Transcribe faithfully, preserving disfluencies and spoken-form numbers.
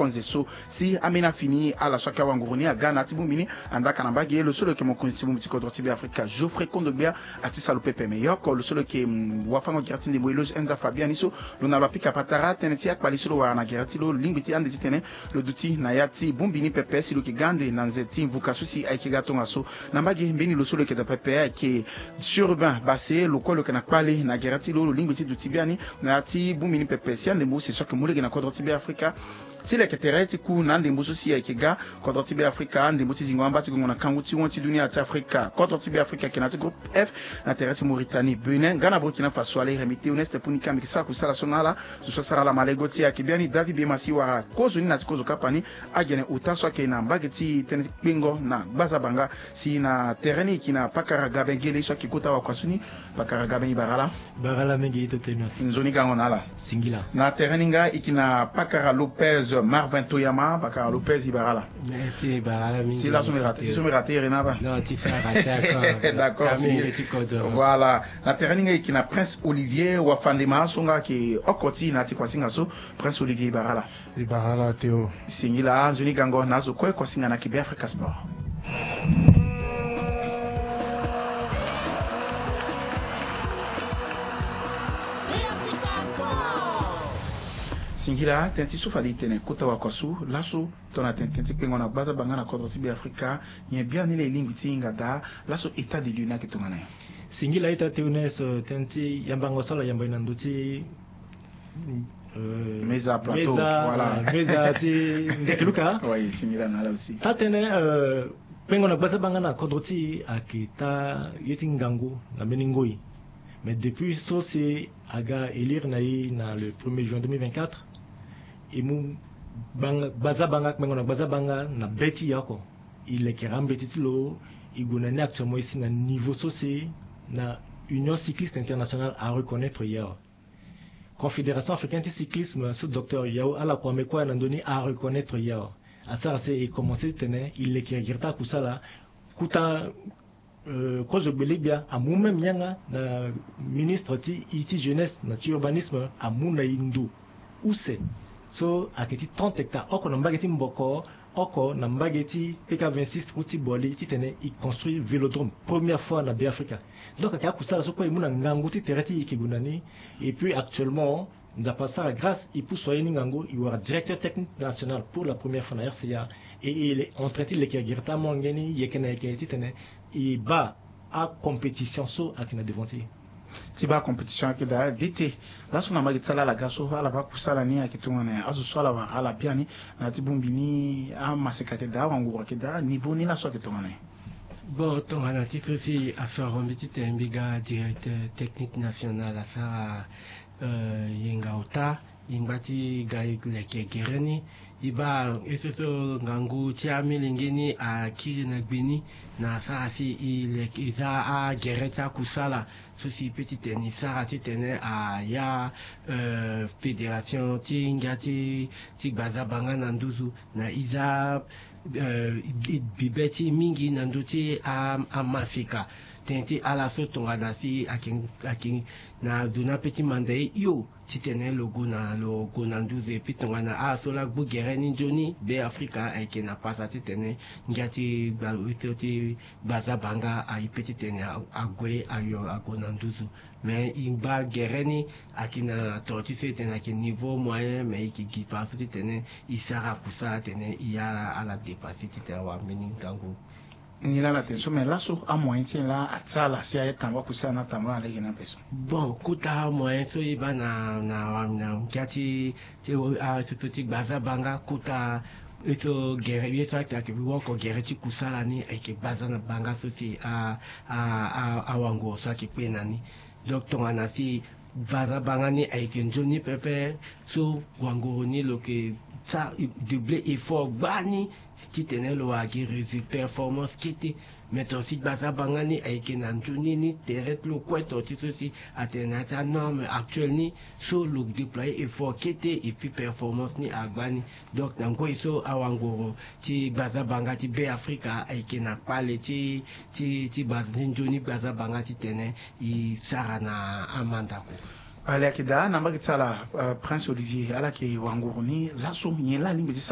Konze so si ambeni afini ala so ayeke awanguru ni aga na ya ti bongbi ni. Andaa ka na mbage lo so lo yeke mokonzi ti bongbi ti kodro ti Beafrika Geoffrey Kondogbia ati salo pepe. Me yo oko lo so lo yeke wafango gere ti ndembo Eloge Enza Fabian ni so lo na lo apika patara tënë ti akpali so lo wara na gere ti lo lingbi ti ande titene lo duti na ya ti bongbi ni pepe si lo yeke ga ande na nze ti mvuka so si ayeke ga tongaso. Na mbage mbeni lo so lo yeke daa pepe ayeke Chérubin Basse, lo kue lo yeke na kpale na gere ti lo, lo lingbi ti duti biani na ya ti bongbi ni pepe si andembo use so ayeke mu lege na kodro ti Beafrika ti leke tere ti ku na andembo so si ayeke ga kodro ti Beafrika, andembo ti zingo amba ti gongo na kangu ti wen ti dunia ti Afrika. Kodro ti Beafrika ayeke na ya ti groupe F na tere ti Mauritanie, Bénin nga na Burkina Faso. Ale, Rémy Théoneste Punika mbi yeke sara kusala so na ala. Zo so asara ala malego ti e ayeke biani David Bemasi wala kozo ni na ya ti kozo kapa ni, agene ota so ayeke na mbage ti tënë ti kpengo na gbazabanga. Si na tere ni e yeke na pakara Gaben Gele so ayeke kota wakua so ni. Pakara Gaben, e bara ala. Bara ala mingi, e to tene asi. Nzoni gango na ala. Singila. Na tere ni nga e yeke na pakara Lopez Marvin Toyama. Pakara Lopez, e bara ala. Merci, e bara ala mingi. Si laso mbi rate, si so mbi rate iri na aba. Non, ti sara rate encore. D'accord, singila. Voilà. Na tere ni nga e yeke na Prince Olivier Wafandema so nga ayeke oko ti e na ya ti kuasinga so. Prince Olivier, e bara ala. E bara ala Théo. Singila. Nzoni gango na azo kue. Kuasinga na yeke Beafrika Sport. Singila. Tënë ti so fade e tene kota wakua so laso tongana tene tënë ti kpengo na gbazabanga na kodro ti Beafrika, nyen biani laa e lingbi ti hinga daa? Laso état de lieu ni ayeke tongana nyen? Singila ita Théoneste, tënë ti yambango so ala yamba e na ndö ti euh, meza plateau, meza, voilà, euh, meza ti ndeke luka. Oui, singila na ala aussi. Taa-tënë, euh, kpengo na gbazabanga na kodro ti e ayeke taa ye ti ngangu na mbeni ngoi. Mais depuis so si aga élire na e na le premier juin deux mille vingt-quatre, e mu gbanga, gbazabanga, kpengo na gbazabanga na be ti e oko. E lekere ambeti ti lo, e gue na ni actuellement, e si na niveau so si na Union Cycliste Internationale areconnaître e awe. Confédération africaine ti cyclisme so Docteur Yao Alakwame kue na ndö ni areconnaître e awe. Asara si e commencé titene e leke gere ti akusala. Kota, euh, kozo gbele-gbia amu même yanga na ministre ti, ti jeunesse na ti urbanisme amu na e ndo use so ayeke ti trente hectares oko na mbage ti Mboko, oko na mbage ti P K vingt-six route ti Bouali, titene e construire vélodrome, première fois na Beafrika. Donc ayeke akusala so kue e mu na ngangu ti tere ti e e yeke gue na ni. Et puis actuellement Nzapa asara grâce e pusu aye ni ngangu, e wara directeur technique national pour la première fois na R C A. Et il est en train ti leke gere ti amu ange ni yeke na yeke titene e baa acompétition so ayeke na devant ti e. Ti baa compétition ayeke daa, dete. Laso na mbage ti ala, ala ga so ala baa kusala ni ayeke tongana nyen? Azo so ala wara ala biani na ya ti bongbi ni, amaseka ayeke daa, awanguru ayeke daa, niveau ni laso ayeke tongana nyen? Bon, tongana ti so si asoro mbi titene mbi ga directeur technique national asara, euh, yenga ota, e ngba ti ga leke gere ni. E baa ye so so ngangu ti amilenge ni akiri na gbe ni, na asara si e leke, e za agere ti akusala so si e peut titene e sara titene aya, euh, fédération ti ngia ti, ti gbazabanga na nduzu, na e za, euh, e, e bibe ti e mingi na ndö ti a, amaseka. Tënë ti ala so tongana si ayeke, ayeke na ndo ni ape ti manda e hio titene lo gue na, lo gue na nduzu. Et puis tongana ala so laa gbu gere ni nzoni, Beafrika ayeke na pasa titene ngia ti gba, ti gbazabanga aye pe titene a, ague ayo ague na nduzu. Mais e ngba gere ni ayeke na toro ti so e tene ayeke niveau moyen, mais e yeke gi fadeso titene e sara kusala titene e ya ala, ala dépasser titene awara mbeni ngangu. Nilaa ala tene so, mais laso amoyen ti nyen laa ati ala si aye tambula kusala ni atambula na lege ni ape so? Bon, kota amoyen so e baa na, na, na ngia ti, ti, a, ti, ti gbazabanga, kota ye so gere, ye so ayeke, ayeke woko gere ti kusala ni ayeke gbazabanga so si a, a, a, awanguru so ayeke kpe na ni. Donc tongana si gbazabanga ni ayeke nzoni pepe, so wanguru ni lo yeke sa, doubler effort gbani titene lo wara gi résultat, performance kete. Mais tongana si gbazabanga ni ayeke na nzoni ni, tere ti lo kue tongana ti so si atene na ya ti anorme actuelle ni, so lo déployer effort kete et puis performance ni agba ni. Donc na ngoi so awanguru ti gbazabanga ti Beafrika ayeke na kpale ti, ti, ti gbaza, ti nzoni gbazabanga titene e sara na amandako. Ale, ayeke daa na mbage ti ala, euh, Prince Olivier, ala yeke wanguru ni laso, nyen laa alingbi ti